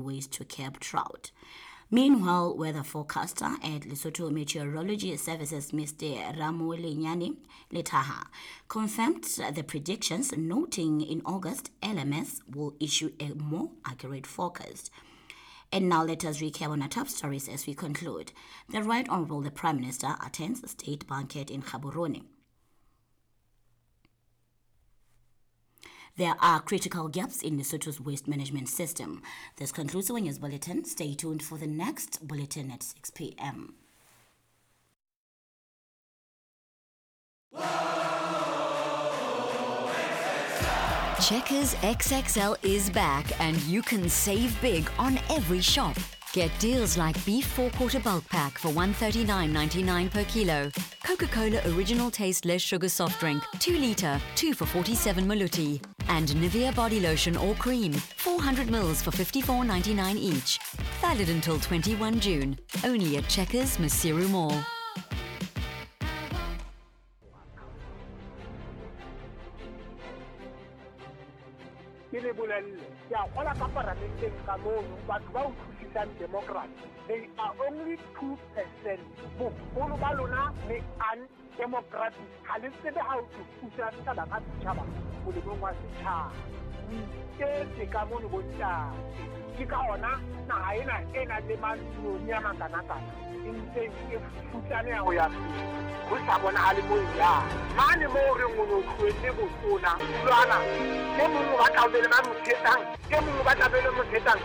Ways to curb drought. Meanwhile, weather forecaster at Lesotho Meteorology Services, Mr. Ramulinyani Letaha, confirmed the predictions, noting in August, LMS will issue a more accurate forecast. And now let us recap on our top stories as we conclude. The Right Honorable the Prime Minister attends state banquet in Gaborone. There are critical gaps in Lesotho's waste management system. This concludes our news bulletin. Stay tuned for the next bulletin at 6 p.m. Checkers XXL is back and you can save big on every shop. Get deals like beef 4-quarter bulk pack for 139.99 per kilo, Coca-Cola original taste less sugar soft drink, 2 litre, 2 for 47 maluti, and Nivea body lotion or cream, 400 mils for 54.99 each. Valid until 21 June, only at Checkers Maseru Mall. Ke le bolelle, ke a gola ka paramenteng ka mono, batho ba utlwisisang democracy, they are only 2%. Boholo ba lona le undemocratic, ha le tsebe ha o tlo pusa setjhaba ka setjhaba molemong wa setjhaba. O iketse ka mono bontate. Ke ka hona naha ena e nang le mantsinyane a makanakana e ntseng e futsaneha ho ya pele, ho sa bonahale moo e yang. Mane moo re reng o no tlohetse botona, tulwana, e mong o batla ho be le ba mo thetsang, e mong o batla be le mo thetsang.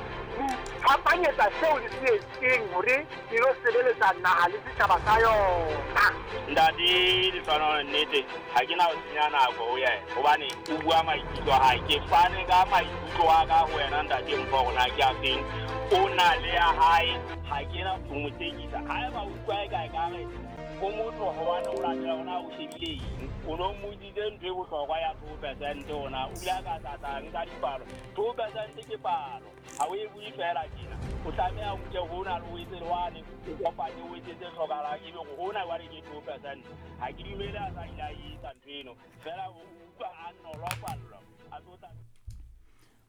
Fapanyetsa seo le se etseng hore le lo sebeletsa naha le setjhaba sa yona. Ntate Lefano, nnete ha ke na ho senya nako ho yena, hobane o bua maikutlo a hae. Ke fane ka maikutlo a ka ho wena ntate Mpho, hore na ke a feng. O na le ya hae, ha ke na ho mo tekisa. Haeba o utlwa e ka ekare o motho hobane o latela hore na o shebile eng, o no mmotsitse ntho e bohlokwa ya 2% hore o ile a ka tlatla nka dipalo. 2% ke palo, ha o e bue fela tjena. O tlameha o nke hona le o etse le wane, o kopanye o etse tse hlokahalang, ebe hore hona jwale ke 2%. Ha ke dumele a sa ile a etsa ntho eno, fela o utlwa a nolofallwa, a tlo tla.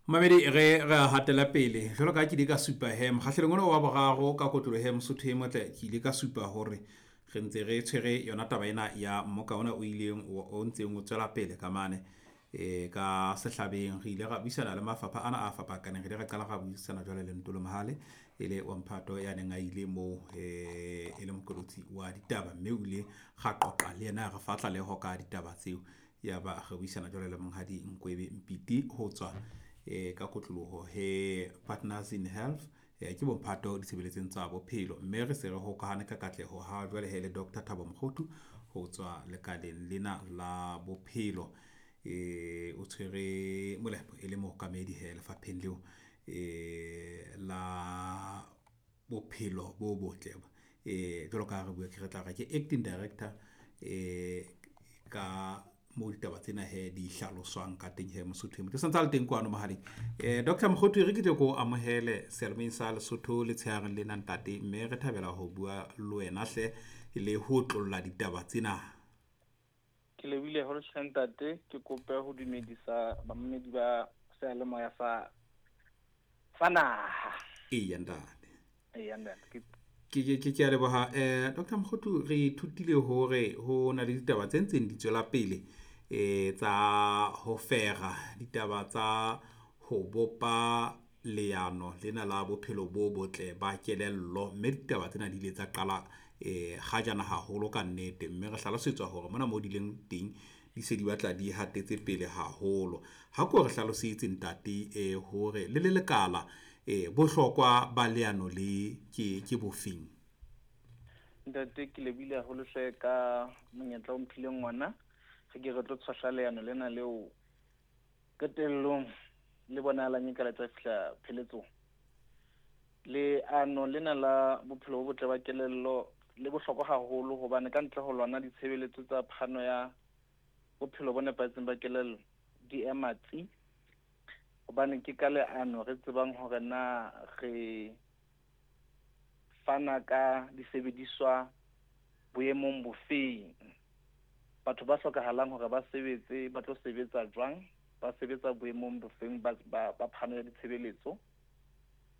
Mamedi re re hatela pele jwalo ka ke ile ka supa he mokgahlelong ona wa boraro ka kotlolo he Mosotho e motle, ke ile ka supa hore re ntse re tshwere yona taba ena ya mmoka ona o ileng o ntseng o tswela pele ka mane ka sehlabeng. Re ile ra buisana le mafapha ana a fapakaneng, re ile ra qala ra buisana jwale le Ntolo Mohale e le wa mphato ya neng a ile moo e le mokolotsi wa ditaba, mme o ile ga qoqa le yena re fa tlaleho ka ditaba tseo. Ya ba re buisana jwale le monghadi Nkwebe Mpiti ho tswa ka kotloloho he Partners in Health, ke bomphato ditshebeletsong tsa bophelo, mme re se re hokahane ka katleho ha jwale he le Dr. Thabo Mokgothu ho tswa lekaleng lena la bophelo. O tshwere molepo e le mookamedi he lefapheng leo la bophelo bo botle. Jwalo ka ha re bua ke re tla re ke acting director ka mo ditaba tsena he di hlaloswang ka teng he Mosotho e motle. Santse a le teng kwano mohaleng. Dr. Mokgothu, re ke tle ko amohele seyalemoyeng sa Lesotho letshehareng lena ntate, mme re thabela ho bua le wena hle le ho tlolla ditaba tsena. Ke lebohile haholo hle ntate, ke kope ho dumedisa bamamedi ba seyalemoya sa naha. Eya ntate. Eya ntate. Ke a leboha. Dr. Mokgothu, re ithutile hore ho na le ditaba tse ntseng di tswela pele tsa ho fera, ditaba tsa ho bopa leano lena la bophelo bo botle ba kelello, mme ditaba tsena di ile tsa qala kgajana haholo ka nnete, mme re hlalosetswa hore mona mo di leng teng di se di batla di hatetse pele haholo. Ha ko re hlalosetse ntate hore le le lekala bohlokwa ba leano le ke bofeng? Ntate, ke lebohile haholo hle ka monyetla o mphileng ona. Re ke re tlo tshwahla leano lena leo qetellong le bonahalang e ka le tla fihla pheletsong. Leano lena la bophelo bo botle ba kelello le bohlokwa haholo, hobane ka ntle ho lona ditshebeletso tsa phano ya bophelo bo nepahetseng ba kelello di ema tsi, hobane ke ka leano re tsebang hore na re fana ka disebediswa boemong bofeng, batho ba hlokahalang hore ba sebetse ba tlo sebetsa jwang, ba sebetsa boemong bofeng ba phano ya ditshebeletso.